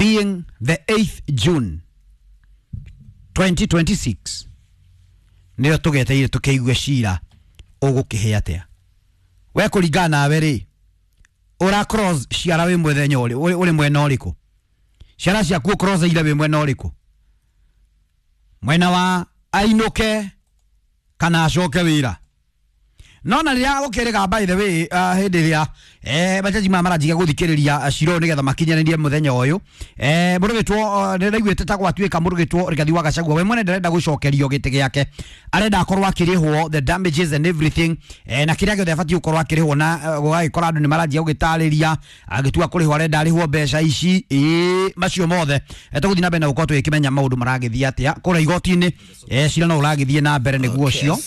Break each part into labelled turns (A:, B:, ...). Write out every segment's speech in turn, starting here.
A: Being the 8th June 2026, nĩyo tũgeteire tũkĩigue cira ũgũkĩhĩa atĩa. We kũringana nawe rĩ, ũra cross ciara wĩ mũthenya ũrĩ mwena ũrĩkũ? Ciara ciaku cross ire wĩ mwena ũrĩkũ? Mwena wa ainũke kana acoke wĩra? No na rĩrĩa gũkĩrĩga, by the way, hĩndĩ ĩrĩa majaji maya maranjiga gũthikĩrĩria cira ũyũ nĩgetha makinyanĩrie mũthenya ũyũ, mũndũ wĩtwo nĩraiguĩte ta gwatuĩka mũndũ wĩtwo Rigathi wa Gachagua we mwene ndarenda gũcokerio gĩtĩ gĩake, arenda akorwo akĩrĩhwo the damages and everything, na kĩrĩa gĩothe abatiĩ gũkorwo akĩrĩhwo, na gũgagĩkora andũ nĩ maranjia gũgĩtarĩria agĩtua kũrĩhwo arenda arĩhwo mbeca ici ĩĩ macio mothe. Tũgũthiĩ na mbere na gũkorwo tũgĩkĩmenya maũndũ maragĩthiĩ atĩa kũrĩa igoti-inĩ. Cira no ũragĩthiĩ na mbere nĩguo ũcio.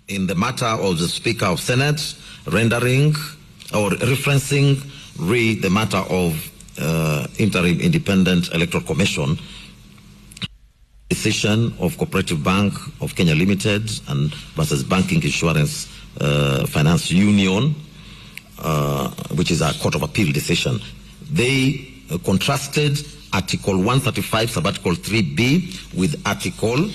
B: In the matter of the Speaker of Senate rendering or referencing re the matter of Interim Independent Electoral Commission decision of Cooperative Bank of Kenya Limited and versus Banking Insurance Finance Union, which is a Court of Appeal decision. They contrasted Article 135, Subarticle 3B with Article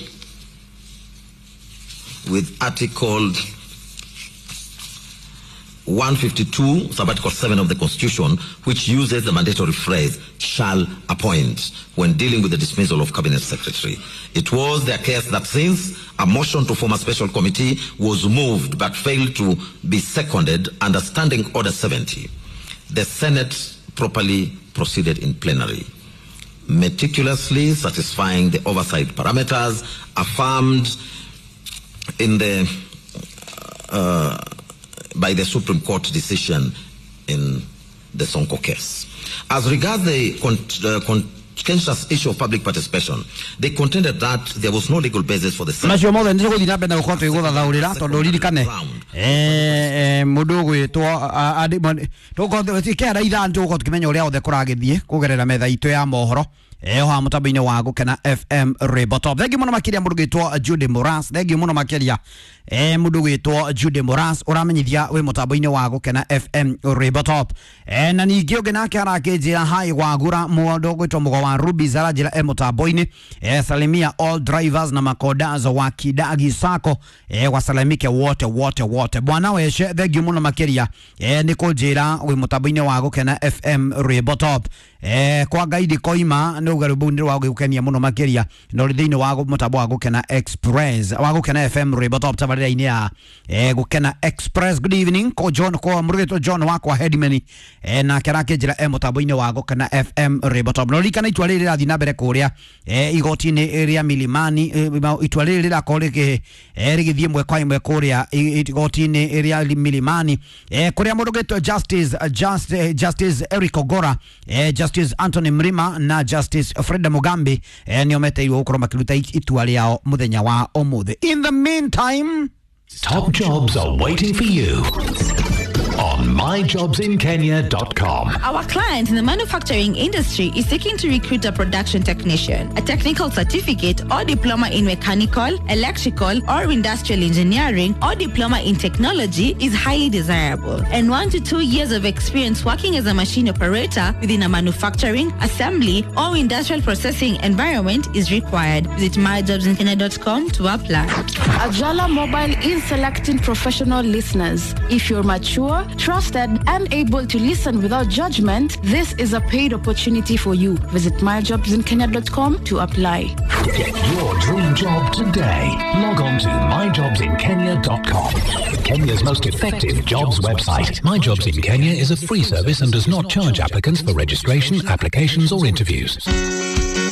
B: 152, Subarticle 7 of the Constitution, which uses the mandatory phrase "shall appoint" when dealing with the dismissal of cabinet secretary. It was their case that since a motion to form a special committee was moved but failed to be seconded under Standing Order 70, the Senate properly proceeded in plenary, meticulously satisfying the oversight parameters affirmed in the by the Supreme Court decision in the Sonko case. As regards the contentious issue of public participation, they contended that there was no legal basis for the
A: Macio mothe nĩ tũgũthiĩ na mbere na gũkorwo tũgĩgũthathaũrĩra, tondũ ririkane mũndũ ũgwĩtwo kĩara ithano tũgũkorwo tũkĩmenya ũrĩa othe kũragĩthiĩ kũgerera metha itũ ya mohoro oha mũtambo-inĩ wa Gũkena FM Rainbow Top. Thengiũ mũno makĩria mũndũ gwĩtwo Judy Moras, thengiũ mũno makĩria mũndũ gwĩtwo Judy Moras ũramenyithia wĩ mũtambo-inĩ wa Gũkena FM Rainbow Top. Na ningĩ ũngĩ nake arakĩnjĩra hi wagura, mũndũ gwĩtwo Mũgo wa Rubies aranjĩra e mũtambo-inĩ, salimia all drivers na makondazo wa Kidagi Sacco, wasalimike wote wote wote. Bwana weshe, thengiũ mũno makĩria nĩ kũnjĩra wĩ mũtambo-inĩ wa Gũkena FM Rainbow Top. Kwa Ngaidi koima nĩ uga rwĩmbo nĩ rwa gũgĩkenia mũno makĩria na ũrĩ thĩinĩ wa mũtambo wa Gũkena Express, wa Gũkena FM Rainbow Top, tabarĩra-inĩ ya Gũkena Express. Good evening ko John, ko mũrũgĩtwo John wakwa Headman, nake arakĩnjĩra e mũtambo-inĩ wa Gũkena FM Rainbow Top. Na ũririkane itua rĩrĩ rĩrathiĩ na mbere kũrĩa igoti-inĩ rĩa Milimani, itua rĩrĩ rĩrakorwo rĩgĩthiĩ ĩmwe kwa ĩmwe kũrĩa igoti-inĩ rĩa Milimani, kũrĩa mũndũ ũgĩtwo Justice Eric Ogora, Justice Anthony Mrima na Justice Freda Mugambi nĩo meteirwo gũkorwo makĩruta itua rĩao mũthenya wa ũmũthĩ. In the meantime,
C: Top jobs are waiting for you on myjobsinkenya.com.
D: Our client in the manufacturing industry is seeking to recruit a production technician, a technical certificate or diploma in mechanical, electrical, or industrial engineering, or diploma in technology is highly desirable, and 1 to 2 years of experience working as a machine operator within a manufacturing, assembly, or industrial processing environment is required. Visit myjobsinkenya.com to apply.
E: Ajala Mobile is selecting professional listeners. If you're mature, trusted, and able to listen without judgment, this is a paid opportunity for you. Visit myjobsinkenya.com to apply.
C: Get your dream job today. Log on to myjobsinkenya.com. Kenya's most effective jobs website. My Jobs in Kenya is a free service and does not charge applicants for registration, applications, or interviews.